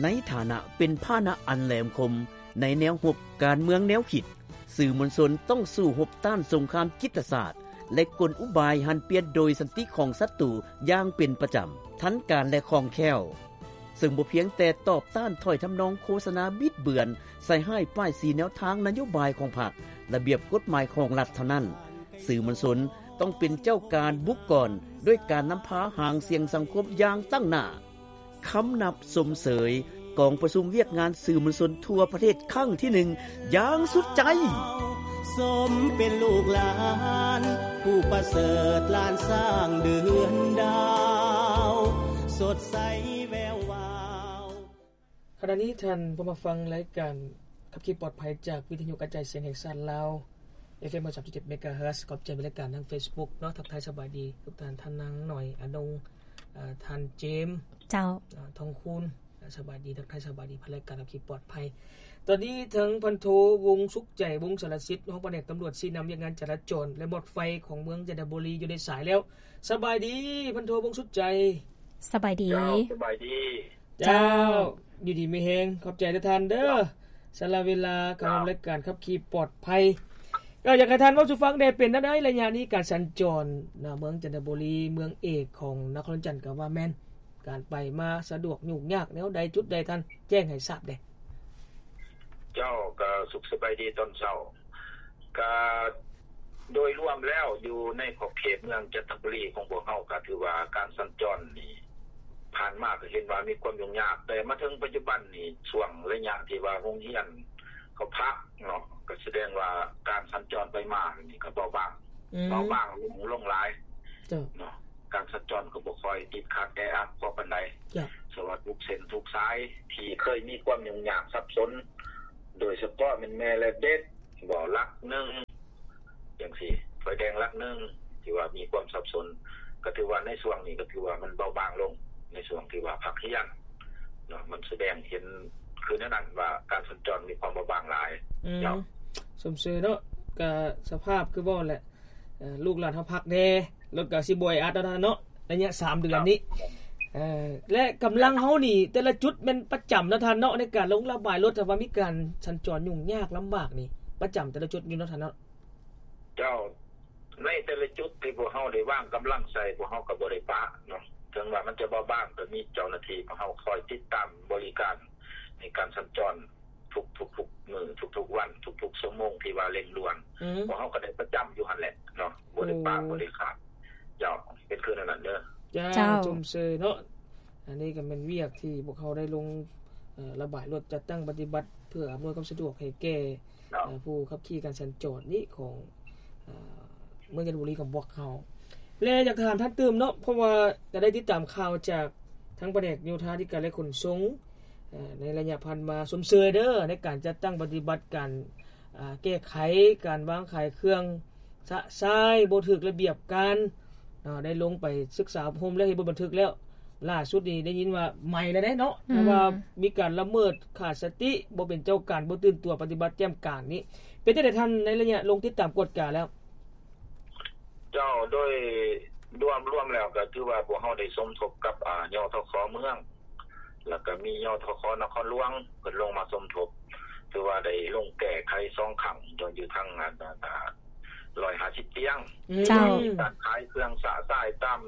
ໃນຖານະເປັນພາຫະນະອັນແຫຼມຄົມໃນແນວຮົບການເມືອງແນວຄິດ, ສື່ມວນຊົນຕ້ອງສູ້ຮົບຕ້ານສົງຄາມຈິດປະສາດ ແລະ ກົນອຸບາຍຫັນປ່ຽນໂດຍສັນຕິຂອງສັດຕູຢ່າງເປັນປະຈຳ, ທັນການ ແລະ ຄ່ອງແຄ້ວ, ເຊິ່ງບໍ່ພຽງແຕ່ຕອບຕ້ານຖ້ອຍທຳນອງໂຄສະນາບິດເບືອນ, ໃສ່ຮ້າຍປ້າຍສີແນວທາງນະໂຍບາຍຂອງພັກ, ລະບຽບກົດໝາຍຂອງລັດເທົ່ານັ້ນ, ສື່ມວນຊົນຕ້ອງເປັນເຈົ້າການບຸກກອນດ້ວຍການນຳພາຫາງສຽງສັງຄົມຢ່າງຕັ້ງໜ້າ. ຄຳນັບຊົມເຊີຍກອງປະຊຸມວຽກງານສື່ມວນຊົນທົ່ວປະເທດຄັ້ງທີໜຶ່ງຢ່າງສຸດໃຈ. ສົມເປັນລູກຫຼານຜູ້ປະເສີດ ຫຼານຊ້າງເດືອນດາວ ສົດໃສແວວວາວ. ຂະນະນີ້ທ່ານພວມມາຟັງລາຍການຂັບຂີ່ປອດໄພຈາກວິທະຍຸກະຈາຍສຽງແຫ່ງຊາດລາວ ເອັຟເອັມ ຮ້ອຍສາມຈຸດເຈັດ ເມກາເຮີດ. ຂອບໃຈເປັນລາຍການທາງເຟສບຸກເນາະ. ທັກທາຍສະບາຍດີທຸກທ່ານ, ທ່ານນາງໜ້ອຍ ອານົງ, ເອີ ທ່ານເຈມ, ເຈົ້າ, ອາ ທອງຄູນ, ສະບາຍດີ, ທັກທາຍສະບາຍດີຜ່ານລາຍການຂັບຂີ່ປອດໄພ. ຕອນນີ້ທາງພັນໂທ ວົງສຸກໃຈ ວົງສາລະສິດ, ຮອງພະແນກຕຳຫຼວດຊີ້ນຳວຽກງານຈະລາຈອນ ແລະ ໝວດໄຟຂອງເມືອງຈັນທະບູລີ ຢູ່ໃນສາຍແລ້ວ. ສະບາຍດີ ພັນໂທ ວົງສຸກໃຈ. ສະບາຍດີ. ເຈົ້າ, ສະບາຍດີ. ເຈົ້າ, ເຈົ້າ, ຢູ່ດີມີແຮງ, ຂອບໃຈເດີທ່ານເດີ, ສຳລັບເວລາການ ເຈົ້າ, ຮ່ວມລາຍການຂັບຂີ່ປອດໄພ. ກໍຢາກໃຫ້ທ່ານເວົ້າສູ່ຟັງແດ່, ເປັນແນວໃດໄລຍະນີ້ການສັນຈອນນະ ເມືອງຈັນທະບູລີ ເມືອງເອກຂອງນະຄອນຫຼວງວຽງຈັນ ກໍວ່າແມ່ນ ການໄປມາສະດວກຫຍຸ້ງຍາກແນວໃດ ຈຸດໃດ ທ່ານແຈ້ງໃຫ້ຊາບແດ່. ເຈົ້າ, ກໍສຸກສະບາຍດີຕອນເຊົ້າ. ກະໂດຍລວມແລ້ວ ຢູ່ໃນຂອບເຂດເມືອງຈັນທະບູລີຂອງພວກເຮົາ ກະຖືວ່າການສັນຈອນນີ້ ຜ່ານມາກະເຫັນວ່າມີຄວາມຫຍຸ້ງຍາກ, ແຕ່ມາເຖິງປັດຈຸບັນນີ້ ຊ່ວງໄລຍະທີ່ວ່າໂຮງຮຽນເຂົາພັກເນາະ ກະສະແດງວ່າການສັນຈອນໄປມານີ້ກະເບົາບາງ, ອືມ, ເບົາບາງລົງ, ລົງຫຼາຍ, ເຈົ້າ, ເນາະ. ການສັນຈອນກໍບໍ່ຄ່ອຍຕິດຂັດແອອັດພໍປານໃດ. ເຈົ້າ. ສະວ່າທຸກເສັ້ນທຸກສາຍທີ່ເຄີຍມີຄວາມຫຍຸ້ງຍາກສັບສົນ, ໂດຍສະເພາະແມ່ນແມ່ແລະເດັກ ບໍ່ ຫຼັກໜຶ່ງຈັ່ງຊີ້, ໄຟແດງຫຼັກໜຶ່ງທີ່ວ່າມີຄວາມສັບສົນ, ກໍຖືວ່າໃນຊ່ວງນີ້ກໍຖືວ່າມັນເບົາບາງລົງ, ໃນຊ່ວງທີ່ວ່າພັກຮຽນເນາະ, ມັນສະແດງເຫັນຄືແນວນັ້ນວ່າການສັນຈອນມີຄວາມເບົາບາງຫຼາຍ. ອືມ. ເຈົ້າ. ຊົມເຊີຍເນາະ, ກະສະພາບຄືເວົ້າແຫຼະ. ເອີ ລູກຫຼານເຮົາພັກແດ່, ລົດກໍຊິບໍ່ແອອັດແລ້ວເນາະ ໄລຍະສາມເດືອນນີ້. ເອີ ແລະ ກຳລັງເຮົານີ້ ເຈົ້າ ແຕ່ລະຈຸດແມ່ນປະຈຳເນາະທ່ານເນາະ ໃນການລົງລະບາຍລົດ ຖ້າວ່າມີການສັນຈອນຫຍຸ້ງຍາກລຳບາກນີ້ ປະຈຳແຕ່ລະຈຸດຢູ່ເນາະທ່ານເນາະ. ເຈົ້າ, ໃນແຕ່ລະຈຸດທີ່ພວກເຮົາໄດ້ວາງກຳລັງໃສ່ ພວກເຮົາກໍບໍ່ໄດ້ປະເນາະ, ເຖິງວ່າມັນຈະເບົາບາງ ກໍມີເຈົ້າໜ້າທີ່ພວກເຮົາຄອຍຕິດຕາມບໍລິການໃນການສັນຈອນ ທຸກໆມື້ ທຸກໆວັນ ທຸກໆຊົ່ວໂມງທີ່ວ່າເລັ່ງດ່ວນ. ອືມ. ພວກເຮົາກໍໄດ້ປະຈຳຢູ່ຫັ້ນແຫຼະເນາະ, ບໍ່ໄດ້ປະ ໂອ້ ບໍ່ໄດ້ຂາດ. ເຈົ້າ, ເປັນຄືແນວນັ້ນເດີ. ເຈົ້າ, ເຈົ້າ. ຊົມເຊີຍເນາະ. ອັນນີ້ກໍແມ່ນວຽກທີ່ພວກເຮົາໄດ້ລົງ ເອີ ລະບາຍລົດ ຈັດຕັ້ງປະຕິບັດ ເພື່ອອຳນວຍຄວາມສະດວກໃຫ້ແກ່ ເຈົ້າ ເອີ ຜູ້ຂັບຂີ່ການສັນຈອນນີ້ຂອງ ເອີ ເມືອງຈັນທະບູລີຂອງພວກເຮົາ. ແລະ ຢາກຖາມທ່ານຕື່ມເນາະ, ເພາະວ່າກໍໄດ້ຕິດຕາມຂ່າວຈາກທາງພະແນກໂຍທາທິການ ແລະ ຂົນສົ່ງ ເອີ ໃນໄລຍະຜ່ານມາ, ຊົມເຊີຍເດີ ໃນການຈັດຕັ້ງປະຕິບັດການ ເອີ ແກ້ໄຂການວາງຂາຍເຄື່ອງຊະຊາຍ ບໍ່ຖືກລະບຽບການເນາະ, ໄດ້ລົງໄປສຶກສາອົບຮົມແລ້ວ ເຮັດບົດບັນທຶກແລ້ວ. ລ່າສຸດນີ້ໄດ້ຍິນວ່າໃໝ່ແລ້ວເດ້ເນາະ, ອືມ ເພາະວ່າມີການລະເມີດຂາດສະຕິ ບໍ່ເປັນເຈົ້າການ ບໍ່ຕື່ນຕົວ ປະຕິບັດແຈ່ມການນີ້. ເປັນຈັ່ງໃດທ່ານ ໃນໄລຍະລົງຕິດຕາມກວດກາແລ້ວ? ເຈົ້າ, ໂດຍລວມ ລວມແລ້ວກໍຖືວ່າພວກເຮົາໄດ້ສົມທົບກັບ ອາ ຍທຂ ເມືອງ ແລ້ວກໍມີ ຍທຂ ນະຄອນຫຼວງ ເພິ່ນລົງມາສົມທົບ, ຖືວ່າໄດ້ລົງແກ້ໄຂສອງຄັ້ງ ຢູ່ທາງ ອັນ ອັນ ອັນ ຮ້ອຍຫ້າສິບຕຽງ. ອືມ ເຈົ້າ. ມີການຂາຍເຄື່ອງຊະຊາຍຕາມ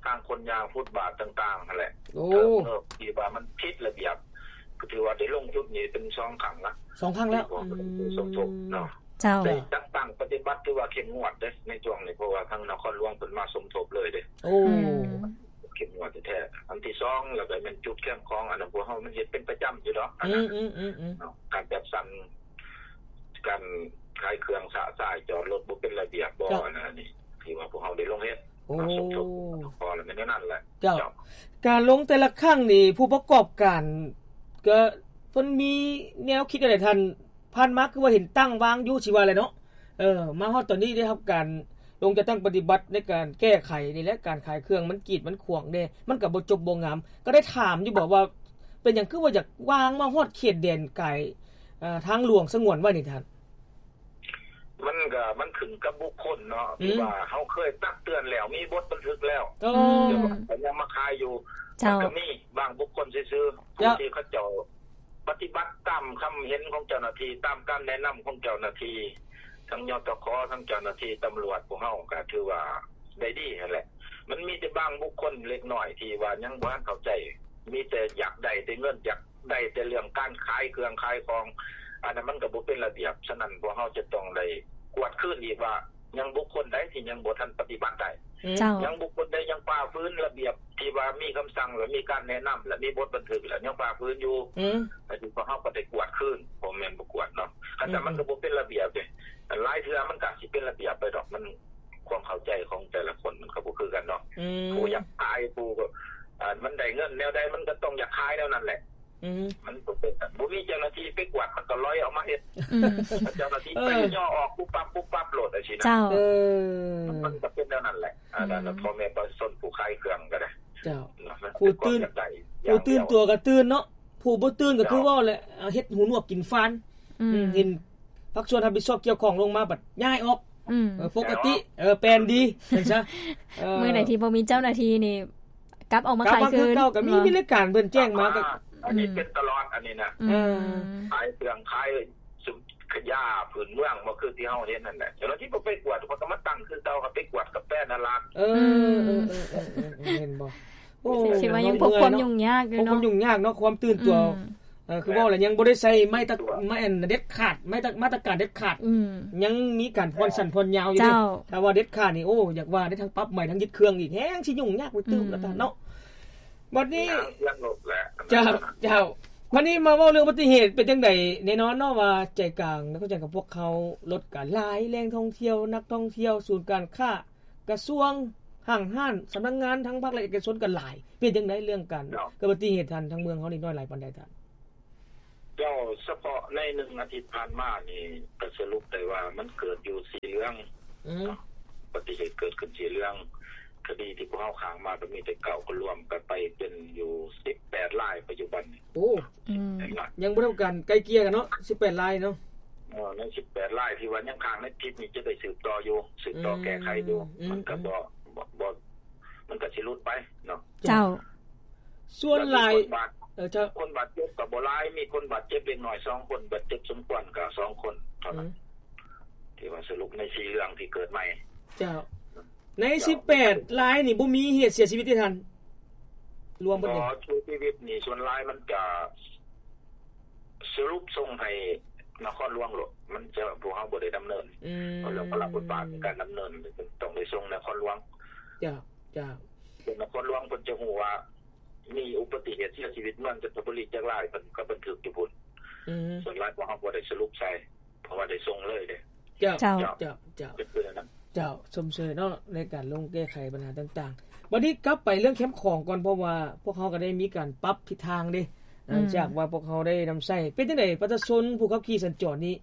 ທາງຄົນຍ່າງ ຟຸດບາດຕ່າງໆຫັ້ນແຫຼະ. ໂອ້ ເອີ ທີ່ວ່າມັນຜິດລະບຽບ ກໍຖືວ່າໄດ້ລົງຈຸດນີ້ເປັນສອງຄັ້ງລະ ສອງຄັ້ງແລ້ວ ທີ່ພວກເຮົາໄດ້ສົມທົບເນາະ. ເຈົ້າ. ໄດ້ຈັດຕັ້ງປະຕິບັດ ຖືວ່າເຂັ້ມງວດເດ້ໃນຊ່ວງນີ້, ເພາະວ່າທາງນະຄອນຫຼວງເພິ່ນມາສົມທົບເລີຍເດ້. ໂອ້ ອືມ ເຂັ້ມງວດແທ້ໆ. ອັນທີສອງ ແລ້ວກໍແມ່ນຈຸດແຄມຂອງ ອັນນັ້ນ ພວກເຮົາມັນເຮັດເປັນປະຈຳຢູ່ດອກ ອັນນັ້ນ ອືມໆໆໆ ເນາະ, ການຈັດສັນ ການຂາຍເຄື່ອງຊະຊາຍ ຈອດລົດບໍ່ເປັນລະບຽບບໍ່ ເຈົ້າ ອັນນັ້ນນີ້ ທີ່ວ່າພວກເຮົາໄດ້ລົງເຮັດ ໂອ້ ມາສົມທົບ ພໍລະແມ່ນແນວນັ້ນແຫຼະ. ເຈົ້າ. ເຈົ້າ. ການລົງແຕ່ລະຄັ້ງນີ້ ຜູ້ປະກອບການກໍເພິ່ນມີແນວຄິດແນວໃດທ່ານ? ຜ່ານມາຄືວ່າເຫັນຕັ້ງວາງຢູ່ ຊິວ່າແຫຼະເນາະ. ເອີ ມາຮອດຕອນນີ້ໄດ້ຮັບການລົງຈັດຕັ້ງປະຕິບັດໃນການແກ້ໄຂນີ້ແຫຼະ, ການຂາຍເຄື່ອງມັນກີດມັນຂວາງແດ່, ມັນກໍບໍ່ຈົບບໍ່ງາມ. ກໍໄດ້ຖາມຢູ່ບໍວ່າ ເປັນຫຍັງຄືວ່າຢາກວາງມາຮອດເຂດແດນກາຍ ເອີ ທາງຫຼວງສະຫງວນໄວ້ນີ້ທ່ານ? ມັນກໍ ມັນຂຶ້ນກັບບຸກຄົນເນາະ ອືມ ທີ່ວ່າເຮົາເຄີຍຕັກເຕືອນແລ້ວ ມີບົດບັນທຶກແລ້ວ ໂອ້ ແຕ່ວ່າກໍຍັງມາຂາຍຢູ່. ເຈົ້າ. ມັນກໍມີບາງບຸກຄົນ ຊື່ໆ ເຈົ້າ ຜູ້ທີ່ເຂົາເຈົ້າປະຕິບັດຕາມຄຳເຫັນຂອງເຈົ້າໜ້າທີ່ ຕາມການແນະນຳຂອງເຈົ້າໜ້າທີ່ ທັງ ຍຕຂ ທັງເຈົ້າໜ້າທີ່ຕຳຫຼວດ ພວກເຮົາກໍຖືວ່າໄດ້ດີຫັ້ນແຫຼະ. ມັນມີແຕ່ບາງບຸກຄົນເລັກນ້ອຍທີ່ວ່າຍັງບໍ່ທັນເຂົ້າໃຈ ມີແຕ່ຢາກໄດ້ແຕ່ເງິນ ຢາກໄດ້ແຕ່ເລື່ອງການຂາຍເຄື່ອງຂາຍຂອງ ອັນນັ້ນມັນກໍບໍ່ເປັນລະບຽບ. ສະນັ້ນ ພວກເຮົາຈະຕ້ອງໄດ້ກວດຄືນອີກວ່າ ຍັງບຸກຄົນໃດທີ່ຍັງບໍ່ທັນປະຕິບັດໄດ້ ເຈົ້າ ຍັງບຸກຄົນໃດຍັງຝ່າຝືນລະບຽບທີ່ວ່າມີຄຳສັ່ງ ແລະ ມີການແນະນຳ ແລະ ມີບົດບັນທຶກ ແລະ ຍັງຝ່າຝືນຢູ່ ອືມ ອັນນີ້ພວກເຮົາກໍໄດ້ກວດຄືນ ບໍ່ແມ່ນບໍ່ກວດເນາະ. ຄັນຊັ້ນມັນກໍບໍ່ເປັນລະບຽບເດ້. ຫຼາຍເທື່ອມັນກໍຊິເປັນລະບຽບໄປດອກ ມັນ ຄວາມເຂົ້າໃຈຂອງແຕ່ລະຄົນມັນກໍບໍ່ຄືກັນເນາະ. ອືມ ຜູ້ຢາກຂາຍ ຜູ້ ອ່າ ມັນໄດ້ເງິນແນວໃດ ມັນກໍຕ້ອງຢາກຂາຍແນວນັ້ນແຫຼະ. ອືມ ມັນບໍ່ເປັນ ບໍ່ມີເຈົ້າໜ້າທີ່ໄປກວດ ມັນກໍລອຍອອກມາເຮັດ. ອືມ ເຈົ້າໜ້າທີ່ໄປຍໍອອກປຸບປັບປຸບປັບໂລດ ຈັ່ງຊີ້ນະ. ເຈົ້າ ເອີ ມັນກໍເປັນແນວນັ້ນແຫຼະ. ອືມ ອັນນັ້ນ ພໍ່ແມ່ປະຊາຊົນຜູ້ຂາຍເຄື່ອງກໍໄດ້ ເຈົ້າ ເນາະ ຜູ້ຕື່ນ ຜູ້ຕື່ນຕົວກໍຕື່ນເນາະ ຜູ້ບໍ່ຕື່ນກໍຄືເວົ້າແຫຼະ ເຮັດຫູໜວກກິນຟານ. ອືມ ເຫັນພາກສ່ວນຮັບຜິດຊອບກ່ຽວຂ້ອງລົງມາບັດຍ້າຍອອກ. ອືມ ເອີ ປົກກະຕິ ເອີ ແປນດີ ເຫັນຊະ. ເອີ ມື້ໃດທີ່ບໍ່ມີເຈົ້າໜ້າທີ່ນີ້ ກັບອອກມາຂາຍຄືນ ເກົ່າ ກໍມີ ມີລາຍການເພິ່ນແຈ້ງມາ ກໍ ອັນນີ້ເປັນຕະຫຼອດ ອັນນີ້ນະ. ອືມ ເອີ ຂາຍເຄື່ອງຂາຍ ຂະຫຍາພື້ນເມືອງ ບໍ່ຄືທີ່ເຮົາເຫັນນັ້ນແຫຼະ. ເຈົ້າໜ້າທີ່ບໍ່ໄປກວດ ເພິ່ນກໍມາຕັ້ງຄືເກົ່າ ກໍໄປກວດກະແຟນະລາດ. ເອີ ເອີ ເຫັນບໍ່? ໂອ້ ຊິວ່າຍັງພົບຄວາມຫຍຸ້ງຍາກຢູ່ເນາະ ພົບຄວາມຫຍຸ້ງຍາກເນາະ ຄວາມຕື່ນຕົວ. ອືມ ເອີ ຄືເວົ້າແລ້ວຍັງບໍ່ໄດ້ໃຊ້ໄມ້ຕະ ໄມ້ອັນເດັດຂາດ ໄມ້ຕະ ມາດຕະການເດັດຂາດ. ອືມ ຍັງມີການຜ່ອນສັ້ນຜ່ອນຍາວຢູ່ເດ້. ເຈົ້າ ຖ້າວ່າເດັດຂາດນີ້ ໂອ້ ຢາກວ່າໄດ້ທັງປັບໃໝ ທັງຍຶດເຄື່ອງອີກ ແຮງຊິຫຍຸ້ງຍາກໄປຕື່ມລະທ່ານເນາະ. ບັດນີ້ ເຈົ້າ ເຈົ້າ ບັດນີ້ມາເວົ້າເລື່ອງອຸບັດຕິເຫດ ເປັນຈັ່ງໃດ? ແນ່ນອນເນາະວ່າໃຈກາງນະຄອນຫຼວງຂອງພວກເຮົາ ລົດກໍຫຼາຍ ແຫຼ່ງທ່ອງທ່ຽວ ນັກທ່ອງທ່ຽວ ສູນການຄ້າ ກະຊວງ ຫ້າງຮ້ານ ສຳນັກງານ ທັງພາກລັດເອກະຊົນກໍຫຼາຍ. ເປັນຈັ່ງໃດເລື່ອງການເກີດອຸບັດຕິເຫດ ທາງ ທາງເມືອງເຮົານີ້ ນ້ອຍຫຼາຍປານໃດທ່ານ? ເຈົ້າ ສະເພາະໃນໜຶ່ງອາທິດຜ່ານມານີ້ ກໍສະຫຼຸບໄດ້ວ່າມັນເກີດຢູ່ສີເຫຼືອງ. ອືມ ອຸບັດຕິເຫດເກີດຂຶ້ນສີເຫຼືອງ ຄະດີທີ່ພວກເຮົາຄ້າງມາກໍມີແຕ່ເກົ້າ ກໍລວມກັນໄປເປັນຢູ່ສິບແປດລາຍປັດຈຸບັນນີ້. ໂອ້ ອືມ ຍັງບໍ່ໄດ້ມີການໄກ່ເກ່ຍກັນເນາະ ສິບແປດລາຍເນາະ. ເອີ ໃນສິບແປດລາຍທີ່ວ່າຍັງຄ້າງໃນຜິດນີ້ ຈະໄດ້ສືບຕໍ່ຢູ່ ສືບຕໍ່ແກ້ໄຂຢູ່. ອືມ ມັນກໍບໍ່ ອືມ ບໍ່ ບໍ່ ມັນກໍຊິຫຼຸດໄປເນາະ. ເຈົ້າ ສ່ວນຫຼາຍ ເອີ ເຈົ້າ ຄົນບາດເຈັບກໍບໍ່ຫຼາຍ ມີຄົນບາດເຈັບເລັກນ້ອຍສອງຄົນ ບາດເຈັບສົມຄວນກໍສອງຄົນເທົ່ານັ້ນ. ອືມ ທີ່ວ່າສະຫຼຸບໃນສີ່ເລື່ອງທີ່ເກີດໃໝ່. ເຈົ້າ ໃນສິບແປດລາຍນີ້ ບໍ່ມີເຫດເສຍຊີວິດເດທ່ານ ລວມເບິດນີ້. ບໍ່ ເສຍຊີວິດນີ້ສ່ວນຫຼາຍມັນຈະສະຫຼຸບສົ່ງໃຫ້ນະຄອນຫຼວງໂລດ ມັນຈະ ພວກເຮົາບໍ່ໄດ້ດຳເນີນ. ອືມ ເພາະເລື່ອງພາລະບົດບາດໃນການດຳເນີນ ຕ້ອງໄດ້ສົ່ງນະຄອນຫຼວງ. ເຈົ້າ ເຈົ້າ ເປັນນະຄອນຫຼວງ ເພິ່ນຈະຮູ້ວ່າມີອຸບັດຕິເຫດເສຍຊີວິດເມືອງຈັນທະບູລີຈັກລາຍ ເພິ່ນກໍບັນທຶກຢູ່ພຸ້ນ. ອືມ ສ່ວນຫຼາຍພວກເຮົາບໍ່ໄດ້ສະຫຼຸບໃສ່ ເພາະວ່າໄດ້ສົ່ງເລີຍເດ້. ເຈົ້າ ເຈົ້າ ເຈົ້າ ເຈົ້າ ເຈົ້າ ຊົມເຊີຍເນາະ ໃນການລົງແກ້ໄຂບັນຫາຕ່າງໆ. ບັດນີ້ກັບໄປເລື່ອງແຄມຂອງກ່ອນ ເພາະວ່າພວກເຮົາກໍໄດ້ມີການປັບທິດທາງເດ້. ອືມ ຈາກວ່າພວກເຮົາໄດ້ນຳໃຊ້ ເປັນຈັ່ງໃດປະຊາຊົນຜູ້ຂັບຂີ່ສັນຈອນນີ້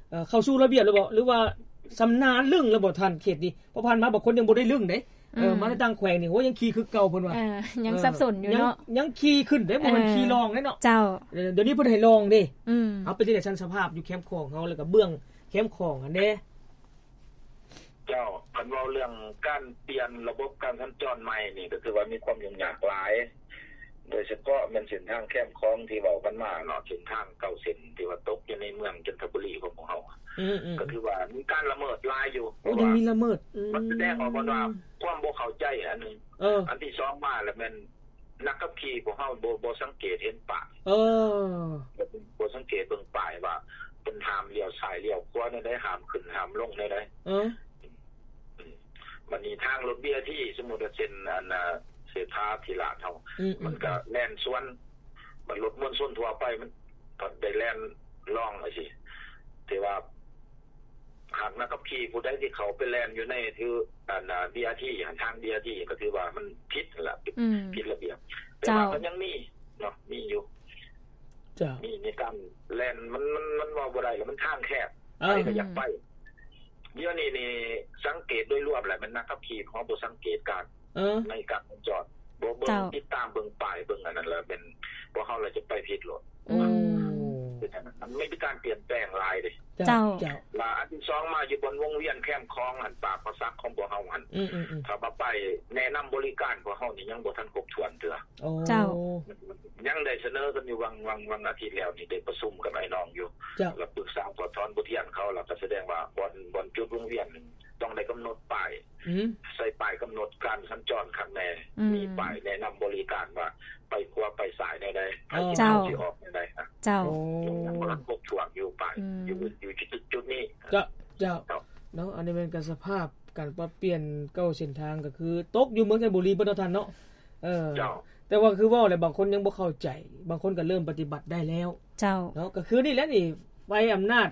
ເອີ ເຂົ້າສູ່ລະບຽບແລ້ວບໍ່ ຫຼືວ່າຊຳນານລຶ້ງແລ້ວບໍ່ທ່ານ ເຂດນີ້? ເພາະຜ່ານມາບາງຄົນຍັງບໍ່ໄດ້ລຶ້ງເດ້. ເອີ ອືມ ມາໃນຕ່າງແຂວງນີ້ ໂຫ ຍັງຂີ່ຄືເກົ່າເພິ່ນວ່າ. ເອີ ຍັງສັບສົນຢູ່ເນາະ ເອີ ຍັງ ຍັງຂີ່ຂຶ້ນເດ້ ບໍ່ແມ່ນ ເອີ ຂີ່ລອງເດ້ເນາະ. ເຈົ້າ ເອີ ດຽວນີ້ເພິ່ນໃຫ້ລອງເດ້. ອືມ ເອົາ ເປັນຈັ່ງໃດຊັ້ນ ສະພາບຢູ່ແຄມຂອງເຮົາ ແລ້ວກໍເບື້ອງແຄມຂອງຫັ້ນເດ້? ເຈົ້າ ຄັນເວົ້າເລື່ອງການປ່ຽນລະບົບການສັນຈອນໃໝ່ນີ້ ກໍຖືວ່າມີຄວາມຫຍຸ້ງຍາກຫຼາຍ ໂດຍສະເພາະແມ່ນເສັ້ນທາງແຄມຂອງທີ່ເວົ້າກັນມາເນາະ ເສັ້ນທາງເກົ້າເສັ້ນທີ່ວ່າຕົກຢູ່ໃນເມືອງຈັນທະບູລີຂອງພວກເຮົາ. ອືມໆໆ ກໍຖືວ່າມີການລະເມີດຫຼາຍຢູ່. ໂອ້ ຍັງມີລະເມີດ. ອືມ ມັນສະແດງອອກວ່າຄວາມບໍ່ເຂົ້າໃຈອັນໜຶ່ງ. ເອີ ອັນທີສອງມາແລ້ວແມ່ນ ນັກຂັບຂີ່ພວກເຮົາບໍ່ ບໍ່ສັງເກດເຫັນປ້າຍ. ເອີ ບໍ່ ບໍ່ສັງເກດເບິ່ງປ້າຍວ່າເພິ່ນຫ້າມລ້ຽວຊ້າຍລ້ຽວຂວາແນວໃດ ຫ້າມຂຶ້ນຫ້າມລົງແນວໃດ. ເອີ ອືມ ບັດນີ້ທາງລົດ ບີ ອາ ທີ ສົມມຸດວ່າເຊັ່ນ ອັນ ເສດຖາທິລາດເຮົາ ອືມໆໆ ມັນກໍແລ່ນສວນ ບັດລົດມວນຊົນທົ່ວໄປມັນກໍໄດ້ແລ່ນລອງຈັ່ງຊີ້ ແຕ່ວ່າ ຫາກນັກຂັບຂີ່ຜູ້ໃດທີ່ເຂົ້າໄປແລ່ນຢູ່ໃນ ຖື ອັນ ບີ ອາ ທີ ຫັ້ນ ທາງ ບີ ອາ ທີ ກໍຖືວ່າມັນຜິດຫັ້ນລະ ອືມ ຜິດລະບຽບ. ແຕ່ວ່າ ເຈົ້າ ກໍຍັງມີເນາະ ມີຢູ່. ເຈົ້າ ມີ ມີການແລ່ນ ມັນ ມັນ ມັນເວົ້າບໍ່ໄດ້ລະ ມັນທາງແຄບ ເອີ ໃຜກໍຢາກໄປ. ດຽວນີ້ນີ້ສັງເກດໂດຍລວມແຫຼະ ແມ່ນນັກຂັບຂີ່ເຮົາບໍ່ສັງເກດການ ເອີ ໃນການສັນຈອນ ບໍ່ເບິ່ງ ເຈົ້າ ຕິດຕາມເບິ່ງປ້າຍ ເບິ່ງອັນນັ້ນລະ ແມ່ນພວກເຮົາລະຈະໄປຜິດໂລດ. ໂອ້ ເປັນອັນນັ້ນ ມັນມີການປ່ຽນແປງຫຼາຍເດ້. ເຈົ້າ ເຈົ້າ ແລະອັນທີສອງມາຢູ່ບ່ອນວົງວຽນແຄມຂອງຫັ້ນ ປາກປາສັກຂອງພວກເຮົາຫັ້ນ ອືມໆໆ ຖ້າວ່າປ້າຍແນະນຳບໍລິການພວກເຮົານີ້ຍັງບໍ່ທັນຄົບຖ້ວນເທື່ອ. ໂອ້ ເຈົ້າ ຍັງໄດ້ສະເໜີກັນຢູ່ຫວ່າງ ຫວ່າງ ຫວ່າງອາທິດແລ້ວນີ້ ໄດ້ປະຊຸມກັບອ້າຍນ້ອງຢູ່ ເຈົ້າ ແລ້ວປຶກສາຖອດຖອນບົດຮຽນເຂົາ ແລ້ວກໍສະແດງວ່າບ່ອນ ບ່ອນຈຸດວົງວຽນນີ້ຕ້ອງໄດ້ກຳນົດປ້າຍ ອືມ ໃສ່ປ້າຍກຳນົດການສັນຈອນຄັກແນ່ ອືມ ມີປ້າຍແນະນຳບໍລິການວ່າໄປຂວາໄປຊ້າຍແນວໃດ ໃຜຊິເຂົ້າຊິອອກແນວໃດນະ. ເຈົ້າ ໂອ້ ຍັງບໍ່ທັນຄົບຖ້ວນຢູ່ປ້າຍ ອືມ ຢູ່ ຢູ່ຈຸດ ຈຸດນີ້. ເຈົ້າ ເຈົ້າ ເຈົ້າ ເນາະ ອັນນີ້ແມ່ນກະສະພາບການປັບປ່ຽນເກົ້າເສັ້ນທາງ ກໍຄືຕົກຢູ່ເມືອງຈັນທະບູລີເບິດເນາະທ່ານເນາະ. ເອີ ເຈົ້າ ແຕ່ວ່າຄືເວົ້າແຫຼະ ບາງຄົນຍັງບໍ່ເຂົ້າໃຈ ບາງຄົນກໍເລີ່ມປະຕິບັດໄດ້ແລ້ວ. ເຈົ້າ ເນາະ ກໍຄືນີ້ແຫຼະນີ້ ໄຟອຳນາດ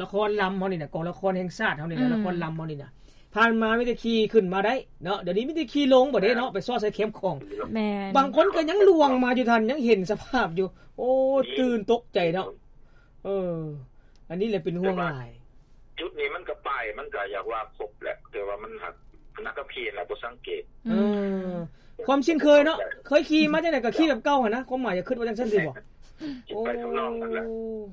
ລະຄອນລຳເຮົານີ້ນະ ກອງລະຄອນແຫ່ງຊາດເຮົານີ້ນະ ອືມ ລະຄອນລຳເຮົານີ້ນະ ຜ່ານມາມີແຕ່ຂີ່ຂຶ້ນມາໄດ້ເນາະ ດຽວນີ້ມີແຕ່ຂີ່ລົງບັດເດ້ເນາະ ແມ່ນ ໄປຊອດໃສ່ແຄມຂອງ. ແມ່ນ ບາງຄົນກໍຍັງລ່ວງມາຢູ່ທ່ານ ຍັງເຫັນສະພາບຢູ່. ໂອ້ ຕື່ນຕົກໃຈເນາະ. ເອີ ອັນນີ້ແຫຼະເປັນຫ່ວງຫຼາຍ. ຈຸດນີ້ມັນກໍປ້າຍ ມັນກໍຢາກວ່າຄົບແຫຼະ ແຕ່ວ່າມັນຫາກ ນັກຂັບຂີ່ແຫຼະບໍ່ສັງເກດ. ອືມ ເອີ ຄວາມຊິນເຄີຍເນາະ ເຄີຍຂີ່ມາຈັ່ງໃດກໍຂີ່ແບບເກົ່າຫັ້ນນະ ຄວາມໝາຍຢາກຄິດວ່າຈັ່ງຊັ້ນຕິບໍ? ໂອ້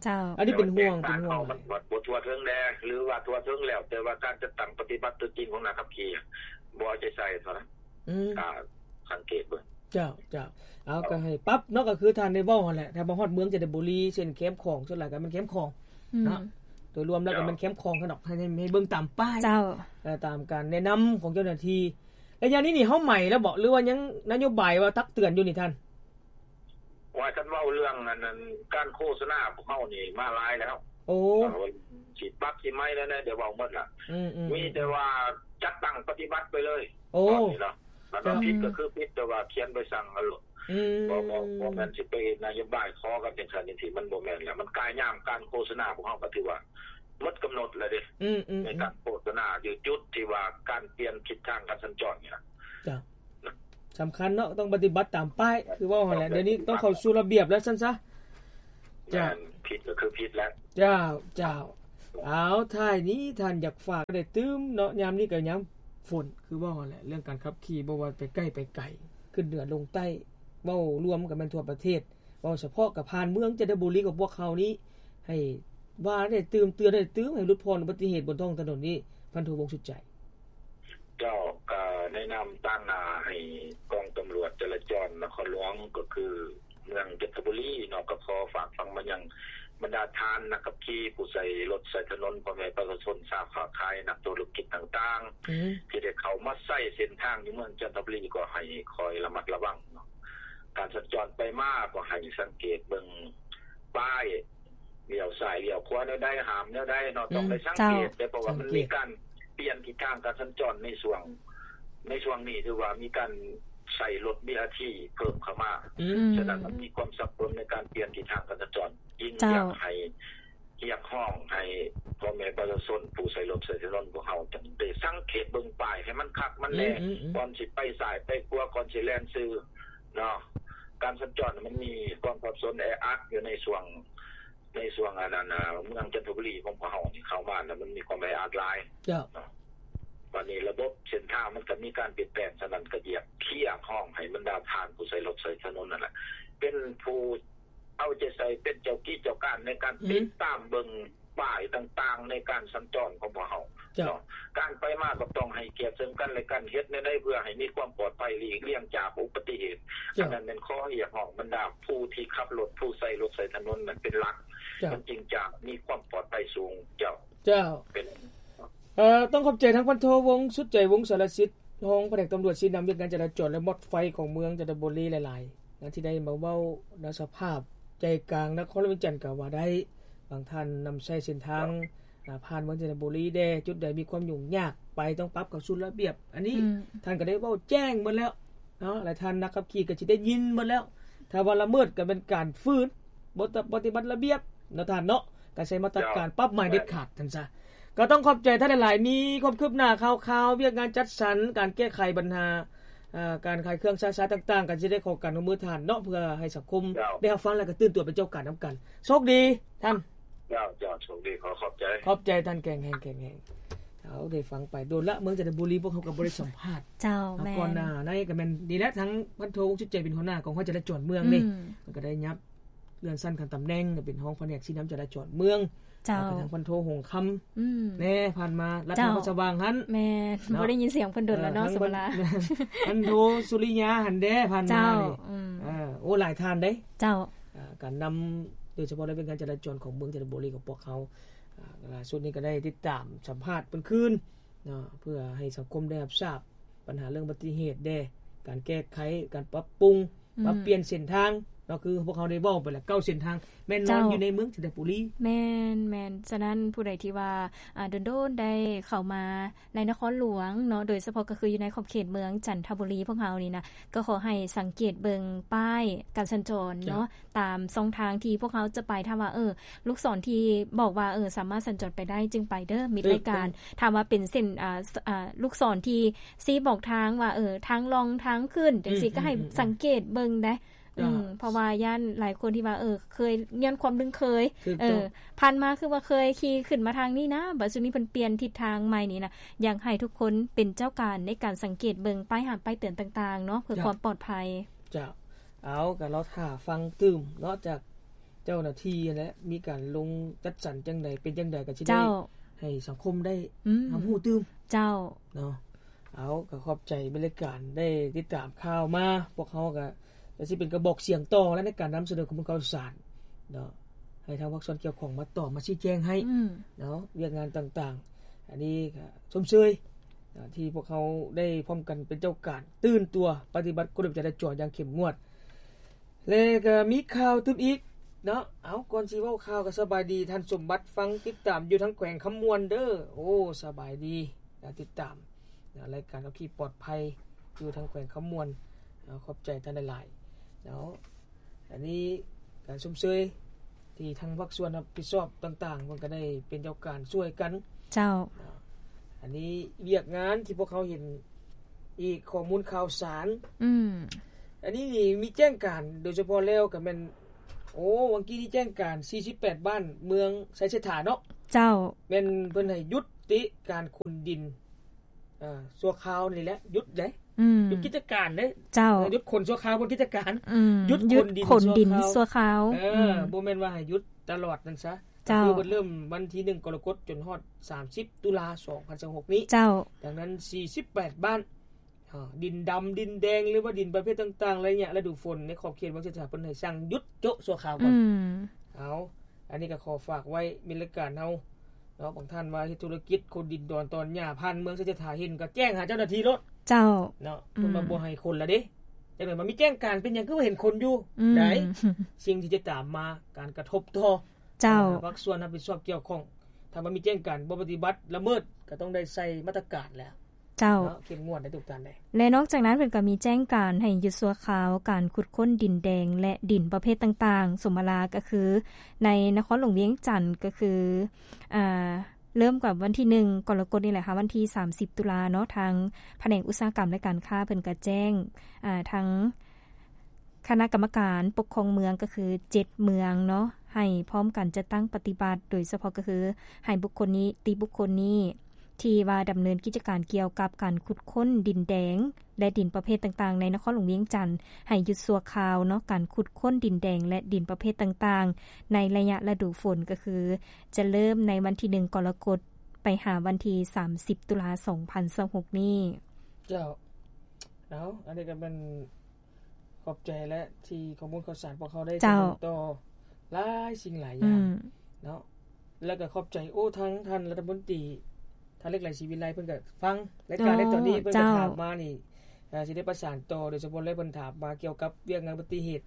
ເຈົ້າ ອັນນີ້ເປັນຫ່ວງ ເປັນຫ່ວງ ມັນບໍ່ທົ່ວເຖິງແດ່ ຫຼືວ່າທົ່ວເຖິງແລ້ວ ແຕ່ວ່າການຈັດຕັ້ງປະຕິບັດຕົວຈິງຂອງນັກຂັບຂີ່ບໍ່ເອົາໃຈໃສ່ເທົ່ານັ້ນ. ອືມ ກໍສັງເກດເບິ່ງ. ເຈົ້າ ເຈົ້າ ເອົາ ກໍໃຫ້ປັບເນາະ ກໍຄືທ່ານໄດ້ເວົ້າຫັ້ນແຫຼະ ຖ້າມາຮອດເມືອງຈັນທະບູລີ ເສັ້ນແຄມຂອງ ສ່ວນຫຼາຍກໍແມ່ນແຄມຂອງ ອືມ ເນາະ ໂດຍລວມແລ້ວກໍແມ່ນແຄມຂອງຊັ້ນດອກ ໃຫ້ ໃຫ້ເບິ່ງຕາມປ້າຍ ເຈົ້າ ເອີ ຕາມການແນະນຳຂອງເຈົ້າໜ້າທີ່. ໄລຍະນີ້ນີ້ເຮົາໃໝແລ້ວບໍ ຫຼືວ່າຍັງນະໂຍບາຍວ່າຕັກເຕືອນຢູ່ນີ້ທ່ານ? ວ່າຄັນເວົ້າເລື່ອງອັນນັ້ນ ການໂຄສະນາພວກເຮົານີ້ມາຫຼາຍແລ້ວ. ໂອ້ ຊິປັບຊິໃໝແນວໃດ ໄດ້ເວົ້າໝົດລະ. ອືມໆໆ ມີແຕ່ວ່າຈັດຕັ້ງປະຕິບັດໄປເລີຍ. ໂອ້ ຕອນນີ້ເນາະ ຄັນວ່າຜິດກໍຄືຜິດ ແຕ່ວ່າຂຽນໃບສັ່ງເອົາໂລດ. ອືມ ບໍ່ ບໍ່ ບໍ່ແມ່ນຊິໄປນະໂຍບາຍຂໍກັນຈັ່ງຊັ້ນຈັ່ງຊີ້ ມັນບໍ່ແມ່ນແລ້ວ. ມັນກາຍຍາມການໂຄສະນາພວກເຮົາກໍຖືວ່າໝົດກຳນົດແລ້ວເດ້. ອືມໆໆ ໃນການໂຄສະນາຢູ່ຈຸດທີ່ວ່າການປ່ຽນທິດທາງການສັນຈອນນີ້ນະ. ເຈົ້າ ສຳຄັນເນາະ ຕ້ອງປະຕິບັດຕາມປ້າຍ ຄືເວົ້າຫັ້ນແຫຼະ ດຽວນີ້ຕ້ອງເຂົ້າສູ່ລະບຽບແລ້ວຊັ້ນຊະ. ເຈົ້າ ແມ່ນ ຜິດກໍຄືຜິດແລ້ວ. ເຈົ້າ ເຈົ້າ ເອົາ ທ້າຍນີ້ທ່ານຢາກຝາກໄດ້ຕື່ມເນາະ ຍາມນີ້ກໍຍາມຝົນ ຄືເວົ້າຫັ້ນແຫຼະ ເລື່ອງການຂັບຂີ່ ບໍ່ວ່າໄປໃກ້ໄປໄກ ຂຶ້ນເໜືອລົງໃຕ້ ເວົ້າລວມກໍແມ່ນທົ່ວປະເທດ ເວົ້າສະເພາະກໍຜ່ານເມືອງຈັນທະບູລີຂອງພວກເຮົານີ້ ໃຫ້ວ່າໄດ້ຕື່ມ ເຕືອນໄດ້ຕື່ມ ໃຫ້ຫຼຸດຜ່ອນອຸບັດຕິເຫດບົນທ້ອງຖະໜົນນີ້ ພັນໂທ ວົງສຸດໃຈ. ເຈົ້າ ກໍໃນນາມຕາງໜ້າໃຫ້ກອງຕຳຫຼວດຈະລາຈອນນະຄອນຫຼວງ ກໍຄືເມືອງຈັນທະບູລີເນາະ ກໍຂໍຝາກຝັງມາຍັງບັນດາທ່ານນັກຂັບຂີ່ ຜູ້ໃຊ້ລົດໃຊ້ຖະໜົນ ພໍ່ແມ່ປະຊາຊົນ ຊາວຄ້າຂາຍ ນັກທຸລະກິດຕ່າງໆ ອືມ ທີ່ໄດ້ເຂົ້າມາໃຊ້ເສັ້ນທາງຢູ່ເມືອງຈັນທະບູລີ ກໍໃຫ້ຄອຍລະມັດລະວັງເນາະ ການສັນຈອນໄປມາ ກໍໃຫ້ສັງເກດເບິ່ງປ້າຍ ລ້ຽວຊ້າຍລ້ຽວຂວາແນວໃດ ຫ້າມແນວໃດເນາະ ອືມ ຕ້ອງໄດ້ສັງເກດ ເຈົ້າ ເດ້ ເພາະວ່າມັນມີການປ່ຽນທິດທາງການສັນຈອນໃນຊ່ວງ ໃນຊ່ວງນີ້ ຖືວ່າມີການໃຊ້ລົດບີອາທີເພີ່ມເຂົ້າມາ ອືມ ສະນັ້ນມັນມີຄວາມສັບສົນໃນການປ່ຽນທິດທາງການສັນຈອນ. ຈຶ່ງຢາກໃຫ້ ເຈົ້າ ຮຽກຮ້ອງໃຫ້ພໍ່ແມ່ປະຊາຊົນຜູ້ໃຊ້ລົດໃຊ້ຖະໜົນພວກເຮົາ ຕ້ອງໄດ້ສັງເກດເບິ່ງປ້າຍໃຫ້ມັນຄັກມັນແນ່ ອືມໆໆ ກ່ອນຊິໄປຊ້າຍໄປຂວາ ກ່ອນຊິແລ່ນຊື່ເນາະ. ການສັນຈອນມັນມີຄວາມສັບສົນແອອັດຢູ່ໃນຊ່ວງ ໃນຊ່ວງອັນນັ້ນ ເມືອງຈັນທະບູລີຂອງພວກເຮົານີ້ ເຂົ້າມາແລ້ວມັນມີຄວາມແອອັດຫຼາຍ ເຈົ້າ ເນາະ. ບັດນີ້ລະບົບເສັ້ນທາງມັນກໍມີການປ່ຽນແປງ ສະນັ້ນກໍຢາກຮຽກຮ້ອງໃຫ້ບັນດາທ່ານຜູ້ໃຊ້ລົດໃຊ້ຖະໜົນນັ້ນແຫຼະ ເປັນຜູ້ເອົາໃຈໃສ່ ເປັນເຈົ້າກີ້ເຈົ້າການໃນການ ອືມ ຕິດຕາມເບິ່ງປ້າຍຕ່າງໆ ໃນການສັນຈອນຂອງພວກເຮົາ ເຈົ້າ ເນາະ. ການໄປມາກໍຕ້ອງໃຫ້ກຽດເຊິ່ງກັນແລະກັນ ເຮັດແນວໃດເພື່ອໃຫ້ມີຄວາມປອດໄພ ຫຼີກລ່ຽງຈາກອຸບັດຕິເຫດ ເຈົ້າ ອັນນັ້ນແມ່ນຂໍຮຽກຮ້ອງບັນດາຜູ້ທີ່ຂັບລົດ ຜູ້ໃຊ້ລົດໃຊ້ຖະໜົນນັ້ນເປັນຫຼັກ ເຈົ້າ ມັນຈຶ່ງຈະມີຄວາມປອດໄພສູງ. ເຈົ້າ ເຈົ້າ ເປັນ ເອີ ຕ້ອງຂອບໃຈທາງພັນໂທ ວົງສຸດໃຈ ວົງສາລະສິດ ຮອງພະແນກຕຳຫຼວດຊີ້ນຳວຽກງານຈະລາຈອນ ແລະ ມອດໄຟຂອງເມືອງຈັນທະບູລີຫຼາຍໆນະ ທີ່ໄດ້ມາເວົ້ານະ ສະພາບໃຈກາງນະຄອນຫຼວງວຽງຈັນກໍວ່າໄດ້. ບາງທ່ານນຳໃຊ້ເສັ້ນທາງ ເຈົ້າ ອາ ຜ່ານເມືອງຈັນທະບູລີແດ່ ຈຸດໃດມີຄວາມຫຍຸ້ງຍາກໄປ ຕ້ອງປັບເຂົ້າສູ່ລະບຽບ ອັນນີ້ ອືມ ທ່ານກໍໄດ້ເວົ້າແຈ້ງໝົດແລ້ວເນາະ ແລະ ທ່ານນັກຂັບຂີ່ກໍຊິໄດ້ຍິນໝົດແລ້ວ. ຖ້າວ່າລະເມີດກໍແມ່ນການຝືນ ບໍ່ປະຕິບັດລະບຽບເນາະທ່ານເນາະ ກະໃຊ້ມາດຕະການ ເຈົ້າ ປັບໃໝເດັດຂາດ ແມ່ນ ທ່ານຊະ. ກໍຕ້ອງຂອບໃຈທ່ານຫຼາຍໆ ມີຄວາມຄືບໜ້າຂ່າວໆ ວຽກງານຈັດສັນ ການແກ້ໄຂບັນຫາ ເອີ ການຂາຍເຄື່ອງຊາຊາຕ່າງໆ ກໍຊິໄດ້ຂໍການຮ່ວມມືທ່ານເນາະ ເພື່ອໃຫ້ສັງຄົມ ເຈົ້າ ໄດ້ຮັບຟັງ ແລະ ກໍຕື່ນຕົວເປັນເຈົ້າການນຳກັນ. ໂຊກດີທ່ານ. ເຈົ້າ ເຈົ້າ ໂຊກດີ ຂໍຂອບໃຈ. ຂອບໃຈທ່ານ ແຂງແຮງ ແຂງແຮງ. ເຮົາໄດ້ຟັງໄປ ໂດນລະ ເມືອງຈັນທະບູລີ ພວກເຮົາກໍບໍ່ໄດ້ສຳພາດ. ເຈົ້າ ແມ່ນ ກ່ອນໜ້າໃນກໍແມ່ນນີ້ແຫຼະ ທາງພັນໂທ ວົງສຸດໃຈ ເປັນຫົວໜ້າກອງຮ້ອຍຈະລາຈອນເມືອງເດ້ ອືມ ມັນກໍໄດ້ຫຍັບ ເລື່ອນຊັ້ນຂັ້ນຕຳແໜ່ງ ເປັນຮອງພະແນກຊີ້ນຳຈະລາຈອນເມືອງ. ເຈົ້າ. ແລ້ວກໍທາງພັນໂທ ຫົງຄຳ ອືມ ແດ່ ຜ່ານມາ ລັດຖະນະ ເຈົ້າ ວັດສະຫວ່າງຫັ້ນ. ແມ່ນ. ເນາະ ບໍ່ໄດ້ຍິນສຽງເພິ່ນດົນແລ້ວເນາະ ເອີ ສຳມະລາ ພັນໂທ ສຸລິຍາ ຫັ້ນເດ້ ຜ່ານມາ. ເຈົ້າ. ນີ້ ອືມ ເອີ ໂອ້ ຫຼາຍທ່ານເດ້. ເຈົ້າ. ເອີ ການນຳ ໂດຍສະເພາະໃນວຽກງານຈະລາຈອນຂອງເມືອງໄຊຍະບູລີຂອງພວກເຮົາ ອ່າ ລ່າສຸດນີ້ກໍໄດ້ຕິດຕາມສຳພາດເພິ່ນຄືນເນາະ ເພື່ອໃຫ້ສັງຄົມໄດ້ຮັບຊາບ ບັນຫາເລື່ອງອຸບັດຕິເຫດແດ່ ການແກ້ໄຂ ການປັບປຸງ ອືມ ປັບປ່ຽນເສັ້ນທາງເນາະ ຄືພວກເຮົາໄດ້ເວົ້າໄປແລ້ວ ເກົ້າເສັ້ນທາງ ແມ່ນນອນ ເຈົ້າ ຢູ່ໃນເມືອງຈັນທະບູລີ. ແມ່ນໆ. ສະນັ້ນຜູ້ໃດທີ່ວ່າ ອ່າ ດົນໆໄດ້ເຂົ້າມາໃນນະຄອນຫຼວງເນາະ ໂດຍສະເພາະກໍຄືຢູ່ໃນຂອບເຂດເມືອງຈັນທະບູລີພວກເຮົານີ້ນະ ກໍຂໍໃຫ້ສັງເກດເບິ່ງປ້າຍການສັນຈອນເນາະ ເຈົ້າ ຕາມຊ່ອງທາງທີ່ພວກເຮົາຈະໄປ. ຖ້າວ່າ ເອີ ລູກສອນທີ່ບອກວ່າ ເອີ ສາມາດສັນຈອນໄປໄດ້ຈຶ່ງໄປເດີ ມິດ ເອີ ລາຍການ. ຖ້າວ່າເປັນເສັ້ນ ອ່າ ອ່າ ລູກສອນທີ່ຊີ້ບອກທາງວ່າ ເອີ ທາງລ່ອງທາງຂຶ້ນ ອືມ ຈັ່ງຊີ້ ອືມ ກໍໃຫ້ ອືມ ສັງເກດເບິ່ງໄດ໋. ເຈົ້າ. ອືມ ເພາະວ່າຢ້ານຫຼາຍຄົນທີ່ວ່າ ເອີ ເຄີຍ ຍ້ອນຄວາມລຶ້ງເຄີຍ ຖືກຕ້ອງ ເອີ ຜ່ານມາຄືວ່າເຄີຍຂີ່ຂຶ້ນມາທາງນີ້ນະ ບັດຊຸດນີ້ເພິ່ນປ່ຽນທິດທາງໃໝ່ນີ້ນະ. ຢາກໃຫ້ທຸກຄົນເປັນເຈົ້າການໃນການສັງເກດເບິ່ງປ້າຍຫ້າມ ປ້າຍເຕືອນຕ່າງໆເນາະ ເພື່ອ ເຈົ້າ ຄວາມປອດໄພ. ເຈົ້າ. ເອົາ ກໍລໍຖ້າຟັງຕື່ມເນາະ ຈາກເຈົ້າໜ້າທີ່ຫັ້ນແຫຼະ ມີການລົງຈັດສັນຈັ່ງໃດ ເປັນຈັ່ງໃດ ກໍຊິໄດ້ ເຈົ້າ ໃຫ້ສັງຄົມໄດ້ ອືມ ຮັບຮູ້ຕື່ມ. ເຈົ້າ. ເນາະ ເອົາ ກໍຂອບໃຈເປັນລາຍການໄດ້ຕິດຕາມຂ່າວມາ ພວກເຮົາກໍ ກໍຊິເປັນກະບອກສຽງຕໍ່ແລ້ວ ໃນການນຳສະເໜີຂໍ້ມູນຂ່າວສານເນາະ ໃຫ້ທາງພາກສ່ວນກ່ຽວຂ້ອງມາຕອບ ມາຊີ້ແຈງໃຫ້ ອືມ ເນາະ ວຽກງານຕ່າງໆ. ອັນນີ້ກໍຊົມເຊີຍ ອ່າ ທີ່ພວກເຮົາໄດ້ພ້ອມກັນເປັນເຈົ້າການ ຕື່ນຕົວປະຕິບັດກົດລະບຽບຈະລາຈອນຢ່າງເຂັ້ມງວດ. ແລະກໍມີຂ່າວຕື່ມອີກເນາະ. ເອົາ ກ່ອນຊິເວົ້າຂ່າວກໍສະບາຍດີທ່ານສົມບັດ ຟັງຕິດຕາມຢູ່ທາງແຂວງຄຳມ່ວນເດີ. ໂອ້ ສະບາຍດີ ການຕິດຕາມນະ ລາຍການຂັບຂີ່ປອດໄພຢູ່ທາງແຂວງຄຳມ່ວນ. ເອົາ ຂອບໃຈທ່ານຫຼາຍໆເນາະ. ອັນນີ້ການຊົມເຊີຍທີ່ທາງພາກສ່ວນຮັບຜິດຊອບຕ່າງໆ ເພິ່ນກໍໄດ້ເປັນເຈົ້າການຊ່ວຍກັນ. ເຈົ້າ. ເນາະ ອັນນີ້ວຽກງານທີ່ພວກເຮົາເຫັນອີກ ຂໍ້ມູນຂ່າວສານ. ອືມ. ອັນນີ້ນີ້ມີແຈ້ງການ ໂດຍສະເພາະແລ້ວກໍແມ່ນ ໂອ້ ວັງກີ້ນີ້ແຈ້ງການ ສີ່ສິບແປດ ບ້ານເມືອງໄຊເສດຖາເນາະ. ເຈົ້າ. ແມ່ນເພິ່ນໃຫ້ຢຸດຕິການຂົນດິນ ອ່າ ຊົ່ວຄາວນີ້ແຫຼະ ຢຸດເດ້. ອືມ. ຢຸດກິດຈະການເດ້. ເຈົ້າ. ເອີ ຢຸດຂົນຊົ່ວຄາວ ບໍ່ກິດຈະການ. ອືມ. ຢຸດຂົນດິນ ຢຸດຂົນດິນຊົ່ວຄາວ. ເອີ. ອືມ. ບໍ່ແມ່ນວ່າໃຫ້ຢຸດຕະຫຼອດນັ້ນຊະ. ເຈົ້າ. ກໍຄືເພິ່ນເລີ່ມວັນທີໜຶ່ງ ກໍລະກົດ ຈົນຮອດ ສາມສິບ ຕຸລາ ສອງພັນຊາວຫົກນີ້. ເຈົ້າ. ດັ່ງນັ້ນ ສີ່ສິບແປດ ບ້ານ ອ່າ ດິນດຳ ດິນແດງ ຫຼືວ່າດິນປະເພດຕ່າງໆ ໄລຍະລະດູຝົນໃນຂອບເຂດເມືອງໄຊເສດຖາ ເພິ່ນໃຫ້ສັ່ງຢຸດໂຈະຊົ່ວຄາວກ່ອນ. ອືມ. ເອົາ ອັນນີ້ກໍຂໍຝາກໄວ້ ມີລາຍການເຮົາເນາະ ບາງທ່ານວ່າເຮັດທຸລະກິດຂົນດິນດອນຕອນຫຍ້າຜ່ານເມືອງໄຊເສດຖາ ເຫັນກໍແຈ້ງຫາເຈົ້າໜ້າທີ່ໂລດ. ເຈົ້າ. ເນາະ. ອືມ. ເພິ່ນວ່າບໍ່ໃຫ້ຂົນລະເດ້ ຈັ່ງໃດມາມີແຈ້ງການ ເປັນຫຍັງຄືວ່າເຫັນຂົນຢູ່. ອືມ. ໄດ້ ສິ່ງທີ່ຈະຕາມມາ ການກະທົບຕໍ່. ເຈົ້າ. ພາກສ່ວນຮັບຜິດຊອບກ່ຽວຂ້ອງ ຖ້າວ່າມີແຈ້ງການບໍ່ປະຕິບັດ ລະເມີດ ກໍຕ້ອງໄດ້ໃສ່ມາດຕະການແລ້ວ. ເຈົ້າ. ເນາະ ເຂັ້ມງວດໃນທຸກທ່ານເດ້. ແລະ ນອກຈາກນັ້ນເພິ່ນກໍມີແຈ້ງການໃຫ້ຢຸດຊົ່ວຄາວການຂຸດຄົ້ນດິນແດງ ແລະ ດິນປະເພດຕ່າງໆ ສົມມະລາກໍຄືໃນນະຄອນຫຼວງວຽງຈັນ ກໍຄື ອ່າ ເລີ່ມກັບວັນທີໜຶ່ງ ກໍລະກົດນີ້ແຫຼະຫາວັນທີສາມສິບ ຕຸລາເນາະ ທາງພະແນກອຸດສາຫະກຳ ແລະ ການຄ້າເພິ່ນກໍແຈ້ງ ອ່າ ທາງ ຄະນະກຳມະການປົກຄອງເມືອງ ກໍຄືເຈັດເມືອງເນາະ ໃຫ້ພ້ອມກັນຈັດຕັ້ງປະຕິບັດ ໂດຍສະເພາະກໍຄືໃຫ້ບຸກຄົນນິຕິບຸກຄົນນີ້ ທີ່ວ່າດຳເນີນກິດຈະການກ່ຽວກັບການຂຸດຄົ້ນດິນແດງ ແລະ ດິນປະເພດຕ່າງໆ ໃນນະຄອນຫຼວງວຽງຈັນ ໃຫ້ຢຸດຊົ່ວຄາວເນາະ ການຂຸດຄົ້ນດິນແດງ ແລະ ດິນປະເພດຕ່າງໆ ໃນໄລຍະລະດູຝົນ ກໍຄືຈະເລີ່ມໃນວັນທີໜຶ່ງ ກໍລະກົດ ໄປຫາວັນທີສາມສິບ ຕຸລາ ສອງພັນຊາວຫົກນີ້. ເຈົ້າ. ເອົາ ອັນນີ້ກໍແມ່ນ ຂອບໃຈແຫຼະ ທີ່ຂໍ້ມູນຂ່າວສານພວກເຮົາໄດ້ ເຈົ້າ ສະເໜີຕໍ່ຫຼາຍສິ່ງຫຼາຍຢ່າງ ອືມ ເນາະ ແລ້ວກໍຂອບໃຈ ໂອ້ ທາງທ່ານລັດຖະມົນຕີ ທ່ານເລັກ ໄຫຼ ສີວິໄລ ເພິ່ນກໍຟັງລາຍການໃນຕອນນີ້ ເຈົ້າ ເພິ່ນກໍຖາມມານີ້ ເອີ ຊິໄດ້ປະສານຕໍ່ ໂດຍສະເພາະແລ້ວເພິ່ນຖາມມາກ່ຽວກັບວຽກງານອຸບັດຕິເຫດ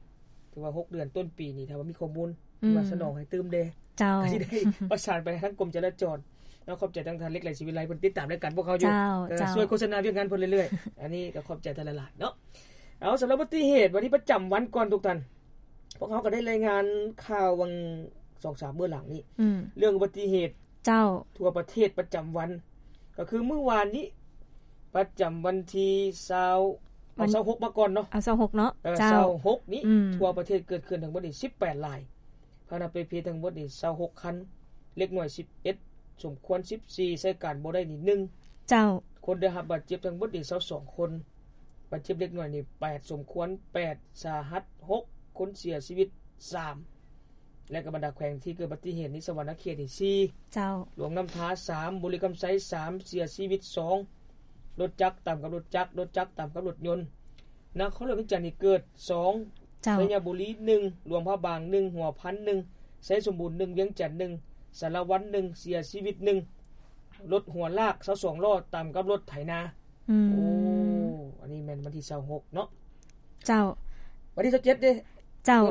ຖືວ່າຫົກເດືອນຕົ້ນປີນີ້ ຖ້າວ່າມີຂໍ້ມູນ ອືມ ທີ່ວ່າສະໜອງໃຫ້ຕື່ມແດ່ ເຈົ້າ ກໍຊິໄດ້ປະສານໄປທາງກົມຈະລາຈອນເນາະ. ຂອບໃຈທາງທ່ານເລັກ ໄຫຼ ສີວິໄລ ເພິ່ນຕິດຕາມລາຍການພວກເຮົາຢູ່ ເຈົ້າ ເອີ ເຈົ້າ ຊ່ວຍໂຄສະນາວຽກງານເພິ່ນເລື້ອຍໆ. ອັນນີ້ກໍຂອບໃຈທ່ານຫຼາຍໆເນາະ. ເອົາ ສຳລັບອຸບັດຕິເຫດ ວັນນີ້ປະຈຳວັນກ່ອນທຸກທ່ານ ພວກເຮົາກໍໄດ້ລາຍງານຂ່າວຫວ່າງສອງສາມມື້ຫຼັງນີ້ ອືມ ເລື່ອງອຸບັດຕິເຫດ ເຈົ້າ ທົ່ວປະເທດປະຈຳວັນ ກໍຄືມື້ວານນີ້ ປະຈຳວັນທີຊາວ ເອົາ ວັນ ຊາວຫົກມາກ່ອນເນາະ ເອົາ ຊາວຫົກເນາະ ເອີ ເຈົ້າ ຊາວຫົກນີ້ ອືມ ທົ່ວປະເທດເກີດຂຶ້ນທັງໝົດນີ້ສິບແປດລາຍ ພາຫະນະປະເພດທັງໝົດນີ້ຊາວຫົກຄັນ ເດັກນ້ອຍສິບເອັດ ສົມຄວນສິບສີ່ ໃຊ້ການບໍ່ໄດ້ນີ້ໜຶ່ງ ເຈົ້າ ຄົນໄດ້ຮັບບາດເຈັບທັງໝົດນີ້ຊາວສອງຄົນ ບາດເຈັບເດັກນ້ອຍນີ້ແປດ ສົມຄວນແປດ ສາຫັດຫົກ ຄົນເສຍຊີວິດສາມ ແລະກໍບັນດາແຂວງທີ່ເກີດອຸບັດຕິເຫດນີ້ ສະຫວັນນະເຂດນີ້ສີ່ ເຈົ້າ ຫຼວງນ້ຳທາສາມ ບໍລິຄຳໄຊສາມ ເສຍຊີວິດສອງ ລົດຈັກຕຳກັບລົດຈັກ ລົດຈັກຕຳກັບລົດຍົນ ນະຄອນຫຼວງວຽງຈັນນີ້ເກີດສອງ ເຈົ້າ ໄຊຍະບູລີໜຶ່ງ ຫຼວງພະບາງໜຶ່ງ ຫົວພັນໜຶ່ງ ໄຊສົມບູນໜຶ່ງ ວຽງຈັນໜຶ່ງ ສາລະວັນໜຶ່ງ ເສຍຊີວິດໜຶ່ງ ລົດຫົວລາກຊາວສອງລໍ້ຕຳກັບລົດໄຖນາ ອືມ ໂອ້ ອັນນີ້ແມ່ນວັນທີຊາວຫົກເນາະ ເຈົ້າ ວັນທີຊາວເຈັດເດ້ ເຈົ້າ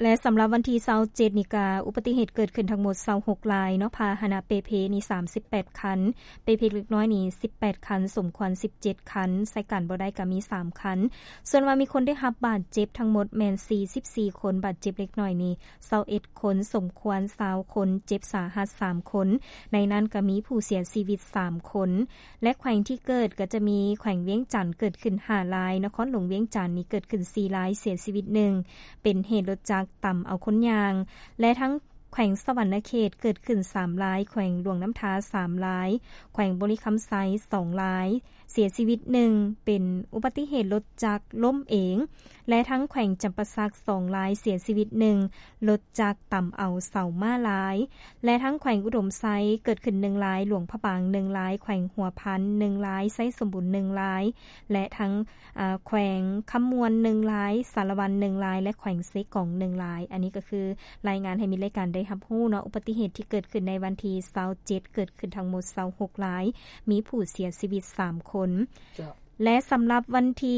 ແລະສຳລັບວັນທີຊາວເຈັດນີ້ກະອຸບັດຕິເຫດເກີດຂຶ້ນທັງໝົດຊາວຫົກລາຍເນາະ ພາຫະນະເປ່ເພນີ້ສາມສິບແປດຄັນ ເປ່ເພເລັກນ້ອຍນີ້ສິບແປດຄັນ ສົມຄວນສິບເຈັດຄັນ ໃຊ້ການບໍ່ໄດ້ກະມີສາມຄັນ ສ່ວນວ່າມີຄົນໄດ້ຮັບບາດເຈັບທັງໝົດແມ່ນສີ່ສິບສີ່ຄົນ ບາດເຈັບເລັກນ້ອຍນີ້ຊາວເອັດຄົນ ສົມຄວນຊາວຄົນ ເຈັບສາຫັດສາມຄົນ ໃນນັ້ນກະມີຜູ້ເສຍຊີວິດສາມຄົນ ແລະແຂວງທີ່ເກີດກໍຈະມີແຂວງວຽງຈັນເກີດຂຶ້ນຫ້າລາຍ ນະຄອນຫຼວງວຽງຈັນນີ້ເກີດຂຶ້ນສີ່ລາຍ ເສຍຊີວິດໜຶ່ງ ເປັນເຫດລົດຈັກຕຳເອົາຄົນຍ່າງ ແລະທັງແຂວງສະຫວັນນະເຂດເກີດຂຶ້ນສາມລາຍ ແຂວງຫຼວງນ້ຳທາສາມລາຍ ແຂວງບໍລິຄຳໄຊສອງລາຍ ເສຍຊີວິດໜຶ່ງ ເປັນອຸບັດຕິເຫດລົດຈັກລົ້ມເອງ ແລະທັງແຂວງຈຳປາສັກສອງລາຍ ເສຍຊີວິດໜຶ່ງ ລົດຈັກຕຳເອົາເສົາມ້າລາຍ ແລະທັງແຂວງອຸດົມໄຊເກີດຂຶ້ນໜຶ່ງລາຍ ຫຼວງພະບາງໜຶ່ງລາຍ ແຂວງຫົວພັນໜຶ່ງລາຍ ໄຊສົມບູນໜຶ່ງລາຍ ແລະທັງ ອາ ແຂວງຄຳມ່ວນໜຶ່ງລາຍ ສາລະວັນໜຶ່ງລາຍ ແລະແຂວງເຊກອງໜຶ່ງລາຍ ອັນນີ້ກໍຄືລາຍງານໃຫ້ມິດລາຍການໄດ້ຮັບຮູ້ເນາະ ອຸບັດຕິເຫດທີ່ເກີດຂຶ້ນໃນວັນທີຊາວເຈັດ ເກີດຂຶ້ນທັງໝົດຊາວຫົກລາຍ ມີຜູ້ເສຍຊີວິດສາມຄົນ ເຈົ້າ ແລະສຳລັບວັນທີ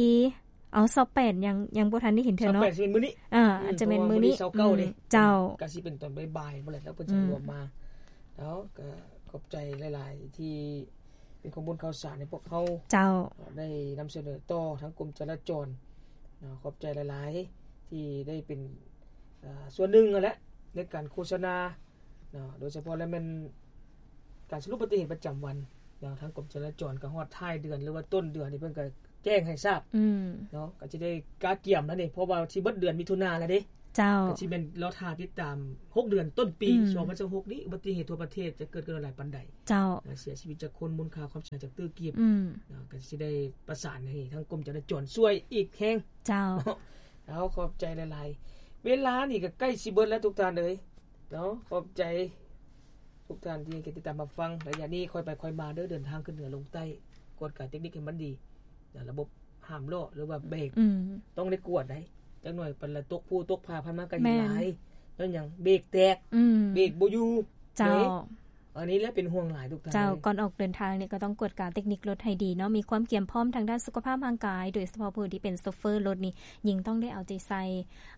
ເອົາ ຊາວແປດ ຍັງ ຍັງບໍ່ທັນໄດ້ເຫັນເທື່ອເນາະ ຊາວແປດ ຊິແມ່ນມື້ນີ້ ອາ ອືມ ອາດຈະແມ່ນມື້ນີ້ ເພາະວ່າມື້ນີ້ຊາວເກົ້າເດ້ ອືມ ເຈົ້າ ກະຊິເປັນຕອນບ່າຍໆພຸ້ນແຫຼະ ແລ້ວເພິ່ນຈະ ອືມ ລວມມາ ເອົາ ກະຂອບໃຈຫຼາຍໆ ທີ່ເປັນຂໍ້ມູນຂ່າວສານໃຫ້ພວກເຮົາ ເຈົ້າ ໄດ້ນຳສະເໜີຕໍ່ທາງກົມຈະລາຈອນເນາະ ຂອບໃຈຫຼາຍໆ ທີ່ໄດ້ເປັນ ອາ ສ່ວນໜຶ່ງຫັ້ນແຫຼະ ໃນການໂຄສະນາ ເນາະ ໂດຍສະເພາະແລ້ວແມ່ນການສະຫຼຸບອຸບັດຕິເຫດປະຈຳວັນເນາະ ທາງກົມຈະລາຈອນກໍຮອດທ້າຍເດືອນ ຫຼືວ່າຕົ້ນເດືອນນີ້ເພິ່ນກໍແຈ້ງໃຫ້ຊາບ ອືມ ເນາະ ກໍຊິໄດ້ກະກຽມແລ້ວນີ້ ເພາະວ່າຊິເບິດເດືອນມິຖຸນາແລ້ວເດ້ ເຈົ້າ ກໍຊິແມ່ນລໍຖ້າຕິດຕາມຫົກເດືອນຕົ້ນປີ ອືມ ສອງພັນຊາວຫົກນີ້ ອຸບັດຕິເຫດທົ່ວປະເທດຈະເກີດຂຶ້ນຫຼາຍປານໃດ ເຈົ້າ ແລະເສຍຊີວິດຈັກຄົນ ມູນຄ່າຄວາມເສຍຫາຍຈັກຕື້ກີບ ອືມ ເນາະ ກໍຊິໄດ້ປະສານໃຫ້ທາງກົມຈະລາຈອນຊ່ວຍອີກແຮງ ເຈົ້າ ເນາະ ເອົາ ຂອບໃຈຫຼາຍໆ ເວລານີ້ກໍໃກ້ຊິເບິດແລ້ວທຸກທ່ານເອີຍ ເນາະ ຂອບໃຈທຸກທ່ານທີ່ໃຫ້ກຽດຕິດຕາມຮັບຟັງ ໄລຍະນີ້ຄ່ອຍໄປຄ່ອຍມາເດີ ເດີນທາງຂຶ້ນເໜືອລົງໃຕ້ ກວດກາເຕັກນິກໃຫ້ມັນດີ ລະບົບຫ້າມລໍ້ ຫຼືວ່າເບກ ອືມ ຕ້ອງໄດ້ກວດໄດ໋ ຈັກໜ່ອຍປານລະຕົກພູຕົກຜາ ຜ່ານມາກໍເຫັນຫຼາຍ ຍ້ອນຫຍັງ ເບກແຕກ ອືມ ເບກບໍ່ຢູ່ ເຈົ້າ ເດ້ ອັນນີ້ແຫຼະເປັນຫ່ວງຫຼາຍທຸກທ່ານ ເຈົ້າ ເອີຍ ກ່ອນອອກເດີນທາງນີ້ກໍຕ້ອງກວດກາເຕັກນິກລົດໃຫ້ດີເນາະ ມີຄວາມກຽມພ້ອມທາງດ້ານສຸຂະພາບຮ່າງກາຍ ໂດຍສະເພາະຜູ້ທີ່ເປັນໂຊເຟີລົດນີ້ ຍິ່ງຕ້ອງໄດ້ເອົາໃຈໃສ່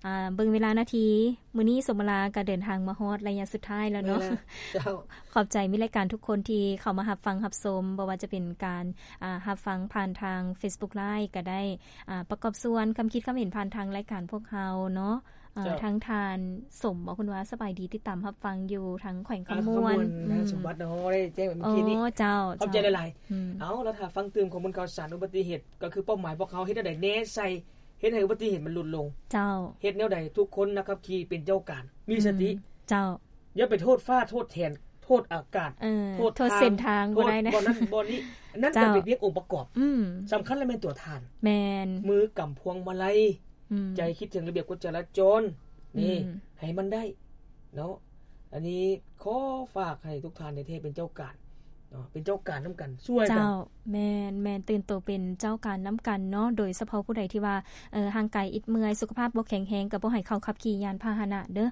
ອ່າ ເບິ່ງເວລານາທີ ມື້ນີ້ສົມມະລາກໍເດີນທາງມາຮອດໄລຍະສຸດທ້າຍແລ້ວເນາະ ເຈົ້າ ຂອບໃຈມິດລາຍການທຸກຄົນທີ່ເຂົ້າມາຮັບຟັງຮັບຊົມ ບໍ່ວ່າຈະເປັນການ ອ່າ ຮັບຟັງຜ່ານທາງ Facebook Live ກໍໄດ້ ອ່າ ປະກອບສ່ວນຄຳຄິດຄຳເຫັນຜ່ານທາງລາຍການພວກເຮົາເນາະ ເອີ ເຈົ້າ ທາງທ່ານສົມ ເວົ້າເພິ່ນວ່າສະບາຍດີ ຕິດຕາມຮັບຟັງຢູ່ທາງແຂວງຄຳມ່ວນ ອ່າ ຄຳມ່ວນ ອືມ ສົມບັດເນາະ ໄດ້ແຈ້ງເປັນ ໂອ້ ເມື່ອກີ້ນີ້ ເຈົ້າ ຂອບໃຈຫຼາຍໆ ອືມ ເອົາ ລະຖ້າຟັງຕື່ມຂໍ້ມູນຂ່າວສານອຸບັດຕິເຫດ ກໍຄືເປົ້າໝາຍພວກເຮົາເຮັດແນວໃດແນ່ໃສ່ ເຮັດໃຫ້ອຸບັດຕິເຫດມັນຫຼຸດລົງ ເຈົ້າ ເຮັດແນວໃດທຸກຄົນນັກຂັບຂີ່ເປັນເຈົ້າການ ມີສະຕິ ອືມ ເຈົ້າ ຢ່າໄປໂທດຟ້າໂທດແຖນ ໂທດອາກາດ ເອີ ໂທດ ໂທດເສັ້ນທາງ ທາງບໍ່ໄດ້ນະ ໂທດບ່ອນນັ້ນບ່ອນນີ້ ອັນນັ້ນ ເຈົ້າ ກໍເປັນພຽງອົງປະກອບ ອືມ ສຳຄັນລະແມ່ນຕົວທ່ານ ແມ່ນ ມືກຳພວງມາໄລ ອືມ ໃຈຄິດເຖິງລະບຽບກົດຈະລາຈອນ ນີ້ ອືມ ໃຫ້ມັນໄດ້ເນາະ ອັນນີ້ຂໍຝາກໃຫ້ທຸກທ່ານແທ້ໆເປັນເຈົ້າການເນາະ ເປັນເຈົ້າການນຳກັນ ຊ່ວຍກັນ ເຈົ້າ ແມ່ນໆ ຕື່ນໂຕເປັນເຈົ້າການນຳກັນເນາະ ໂດຍສະເພາະຜູ້ໃດທີ່ວ່າ ເອີ ຮ່າງກາຍອິດເມື່ອຍ ສຸຂະພາບບໍ່ແຂງແຮງ ກໍບໍ່ໃຫ້ເຂົ້າຂັບຂີ່ຍານພາຫະນະເດີ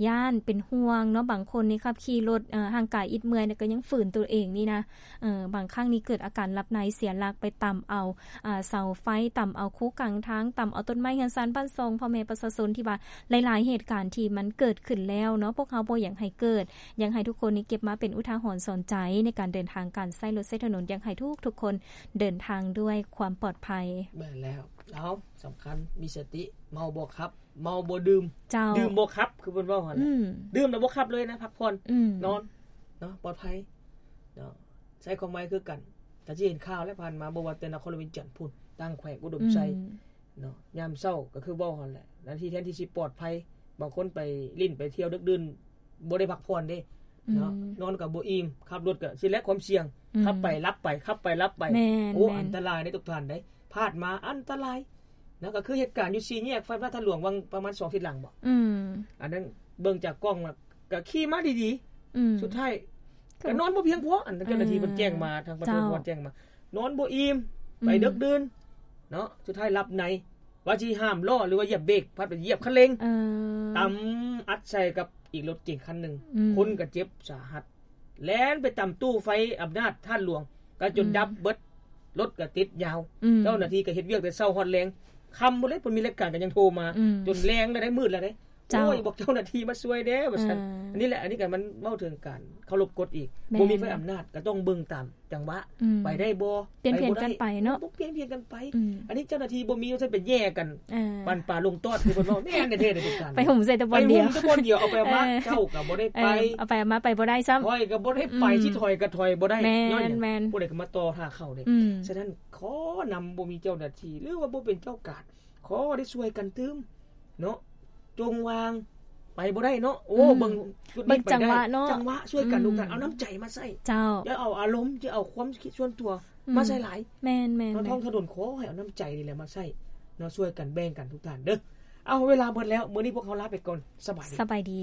ຢ້ານເປັນຫ່ວງເນາະ ບາງຄົນນີ້ຂັບຂີ່ລົດ ເອີ ຮ່າງກາຍອິດເມື່ອຍ ແລ້ວກໍຍັງຝືນຕົວເອງນີ້ນະ ເອີ ບາງຄັ້ງນີ້ເກີດອາການຫຼັບໃນ ເສຍຫຼັກໄປຕຳເອົາ ອ່າ ເສົາໄຟ ຕຳເອົາຄູກາງທາງ ຕຳເອົາຕົ້ນໄມ້ເຮືອນຊານບ້ານຊ່ອງ ພໍ່ແມ່ປະຊາຊົນ ທີ່ວ່າຫຼາຍໆເຫດການທີ່ມັນເກີດຂຶ້ນແລ້ວເນາະ ພວກເຮົາບໍ່ຢາກໃຫ້ເກີດ ຢາກໃຫ້ທຸກຄົນນີ້ເກັບມາເປັນອຸທາຫອນສອນໃຈ ໃນການເດີນທາງ ການໃຊ້ລົດໃຊ້ຖະໜົນ ຢາກໃຫ້ທຸກໆຄົນເດີນທາງດ້ວຍຄວາມປອດໄພ ແມ່ນແລ້ວ ເອົາ ສຳຄັນ ມີສະຕິ ເມົາບໍ່ຂັບ ເມົາບໍ່ດື່ມ ເຈົ້າ ດື່ມບໍ່ຂັບ ຄືເພິ່ນເວົ້າຫັ້ນແຫຼະ ອືມ ດື່ມແລ້ວບໍ່ຂັບເລີຍນະ ພັກຜ່ອນ ອືມ ນອນເນາະ ປອດໄພເນາະ ໃຊ້ຄວາມໄວຄືກັນ ກໍຊິເຫັນຂ່າວແລ້ວ ຜ່ານມາ ບໍ່ວ່າແຕ່ນະຄອນຫຼວງວຽງຈັນພຸ້ນ ຕ່າງແຂວງ ອຸດົມໄຊ ອືມ ເນາະ ຍາມເຊົ້າກໍຄືເວົ້າຫັ້ນແຫຼະ ນາທີແທນທີ່ຊິປອດໄພ ບາງຄົນໄປຫຼິ້ນໄປທ່ຽວດຶກດື່ນ ບໍ່ໄດ້ພັກຜ່ອນເດ້ເນາະ ອືມ ນອນກໍບໍ່ອີ່ມ ຂັບລົດກໍຊິແລະຄວາມສ່ຽງ ອືມ ຂັບໄປຫຼັບໄປ ຂັບໄປຫຼັບໄປ ແມ່ນ ໂອ້ ແມ່ນ ອັນຕະລາຍເດ້ທຸກທ່ານເດ້ ພາດມາອັນຕະລາຍ ນະ ກໍຄືເຫດການຢູ່ສີ່ແຍກໄຟຟ້າທາດຫຼວງ ຫວ່າງປະມານສອງອາທິດຫຼັງບໍ? ອືມ ອັນນັ້ນເບິ່ງຈາກກ້ອງ ກໍຂີ່ມາດີໆ ອືມ ສຸດທ້າຍກໍນອນບໍ່ພຽງພໍ ອັນເຈົ້າໜ້າທີ່ເພິ່ນແຈ້ງມາ ທາງປະຊາຊົນແຈ້ງມາ ນອນບໍ່ອີ່ມ ໄປເດິກດື່ນເນາະ ສຸດທ້າຍຫຼັບໃນ ວ່າຊິຫ້າມລໍ້ ຫຼືວ່າຢຽບເບຣກ ພັດໄປຢຽບຄັນເລັ່ງ ເອີ ຕຳອັດໃສ່ກັບອີກລົດເກັງຄັນໜຶ່ງ ອືມ ຄົນກໍເຈັບສາຫັດ ແລ່ນໄປຕຳຕູ້ໄຟອຳນາດທາດຫຼວງ ກໍຈົນ ອືມ ດັບເບິດ ລົດກໍຕິດຍາວ ອືມ ເຈົ້າໜ້າທີ່ກໍເຮັດວຽກແຕ່ເຊົ້າຮອດແລງ ຄ່ຳພຸ້ນແຫຼະ ເພິ່ນມີລາຍການກໍຍັງໂທມາ ອືມ ຈົນແລງແລ້ວເດ້ ມືດແລ້ວເດ້ ເຈົ້າ ໂອ້ຍ ບອກເຈົ້າໜ້າທີ່ມາຊ່ວຍແດ່ວ່າຊັ້ນ ເອີ ອັນນີ້ແຫຼະ ອັນນີ້ກໍມັນເວົ້າເຖິງການເຄົາລົບກົດອີກ ແມ່ນ ບໍ່ມີໃຜອຳນາດ ກໍຕ້ອງເບິ່ງຕາມ ຈັງຫວະ ອືມ ໄປໄດ້ບໍ່ ປ່ຽນຜ່ຽນກັນໄປເນາະ ປ່ຽນຜ່ຽນກັນໄປ ອືມ ອັນນີ້ເຈົ້າໜ້າທີ່ບໍ່ມີວ່າຊັ້ນ ໄປແຍ່ກັນ ເອີ ປັນປາລົງຕອດ ຄືເພິ່ນເວົ້າ ແມ່ນແທ້ໆເດ້ ໄປຫຸ້ມໃສ່ແຕ່ບ່ອນດຽວ ໄປຫຸ້ມແຕ່ບ່ອນດຽວ ເອົາໄປເອົາມາ ເອີ ເຈົ້າກໍບໍ່ໄດ້ໄປ ເອີ ເອົາໄປເອົາມາໄປບໍ່ໄດ້ຊ້ຳ ຂ້ອຍກໍບໍ່ໄດ້ໄປ ອືມ ຊິຖອຍກໍຖອຍບໍ່ໄດ້ ແມ່ນ ຍ້ອນຫຍັງ ແມ່ນ ຜູ້ໃດກໍມາຕໍ່ຖ້າເຂົ້າເດ້ ອືມ ສະນັ້ນ ຂໍນຳ ບໍ່ມີເຈົ້າໜ້າທີ່ ຫຼືວ່າບໍ່ເປັນເຈົ້າກາດ ຂໍໄດ້ຊ່ວຍກັນຕື່ມເນາະ ຈົ່ງວ່າງ ໄປບໍ່ໄດ້ເນາະ ໂອ້ ອືມ ເບິ່ງຈຸດນີ້ ເບິ່ງຈັງຫວະເນາະ ໄປໄດ້ ຈັງຫວະ ຊ່ວຍກັນ ອືມ ທຸກທ່ານ ເອົານ້ຳໃຈມາໃຊ້ ເຈົ້າ ຢ່າເອົາອາລົມ ຢ່າເອົາຄວາມຄິດສ່ວນຕົວ ອືມ ມາໃສ່ຫຼາຍ ແມ່ນໆໆ ເນາະ ທ້ອງຖະໜົນ ຂໍໃຫ້ເອົານ້ຳໃຈນີ້ແຫຼະມາໃຊ້ເນາະ ຊ່ວຍກັນ ແບ່ງກັນ ທຸກທ່ານເດີ ເອົາ ເວລາໝົດແລ້ວ ມື້ນີ້ພວກເຮົາລາໄປກ່ອນ ສະບາຍດີ ສະບາຍດີ.